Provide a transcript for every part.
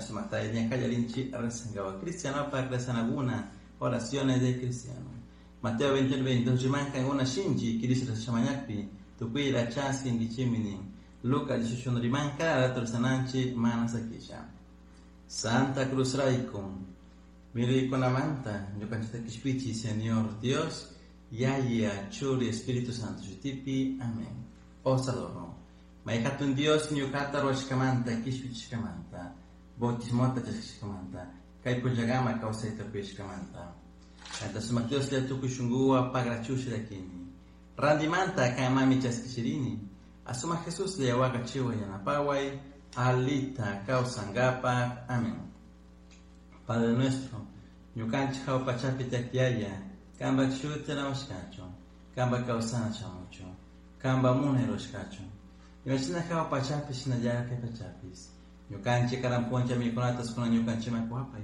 Sumatay Kallarinchi rezangawa cristiano para rezanaguna oraciones de cristiano. Mateo 21, 22 rimanka una shinji kirishra shamañakpi tukuy chaskinkichiminin. Lucas 18 rimanka rezananchi mana sakisha. Santa Cruz rayku miraykunamanta ñukanchikta kishpichi Señor Dios Yaya Churi Espíritu Santo shutipi. Amén. Os adoro. Mayhatun Dios ñukata ruwashkamanta kishpichishkamanta bautismota chaskishkamanta kay punllakama kawsayta kuyashkamanta. Kanta sumak Dios tukuy shunkuwan pagrachusha llakini. Randimanta kanmami chaskishirini. Asumak Jesus wakachiway yanapaway alita kawsankapak. Amén. Padre nuestro, ñukanchik hawa pachapi tiyak Yaya, kanpak shuti rimashkachun, kanpak kawsana shamuchun, kanpak munay rurashkachun. Imashina hawa pachapi shinallatak kay pachapis. Ñukanchik karan punlla mikunatas kunan ñukanchikman kuwapay.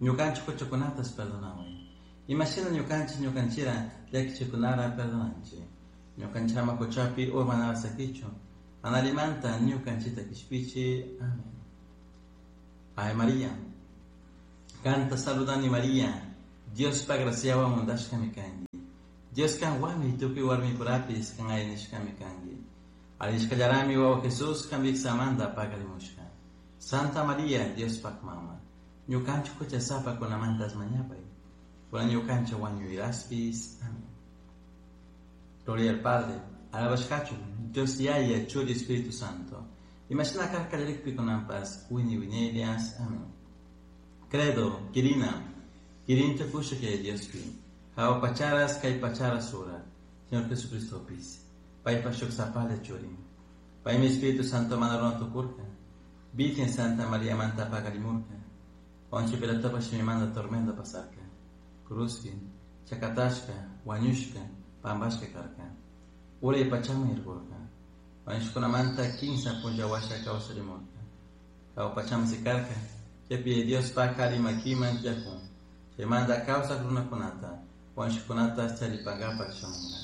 Ñukanchik huchakunatas perdonaway. Imashina ñukanchik ñukanchira llakichikunara perdonanchik. Ñukanchik ama huchapi urmanara sakichun. Mana allimanta ñukanchikta kishpichi. Amén. Ave María. Kanta saludani María. Diospa graciawan untashkami kanki. Dios kanwanmi tukuy warmipurapis kan alli nishkami kanki. Alli wawa Jesús kan wiksamanta paqarimushka. Santa María, Diospak mama. Ñukanchik huchasapakunamantas mañapay. Kunan ñukanchik wañuyraspis. Amén. Gloria al Padre, alabashkachun, Dios Yaya, Churi, Espíritu Santo. Imashina karka kallarikpi kunanpas, wiñay wiñaylias. Amén. Credo, Kirina, Kirin tukusha kay Diospi, Hawa pacharas kay pacharas sura, Señor Jesucristo pis, Paypa shuk sapalla churin. Paymi Espíritu Santo mana runa tukurka, Virgen Santa María manta paqarimurka, Poncio Pilatopa shimimanta tormento pasarka, Cruzpi, chakatashka, wañushka, pampashka karka, Uray pachaman yaykurka, wañushkunamanta kinsa punlla washa kawsarimurka, Hawa pachaman sikarka, chaypi Diospak alli makiman tiyakun, chaymanta kawsak runakunata, wañushkunata charipankapak shamunka.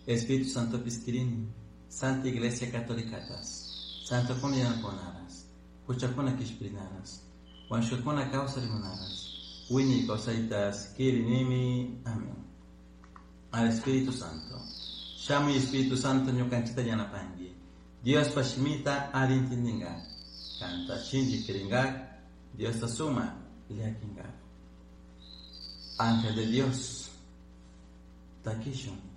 Espíritu Santo kirini, Santa Iglesia Católicatas, Santokuna yanapakunaras, huchakuna kishpirinaras, wañushkakuna kawsarimunaras, wiñay kawsaytas kirinimi. Amén. Al Espíritu Santo. Shamuy Espíritu Santo ñukanchikta yanapanki. Diospa shimita alli intindinkak. Kanta shinchi kirinkak, Diosta suma llakinkak. Ángel de Dios, takishun.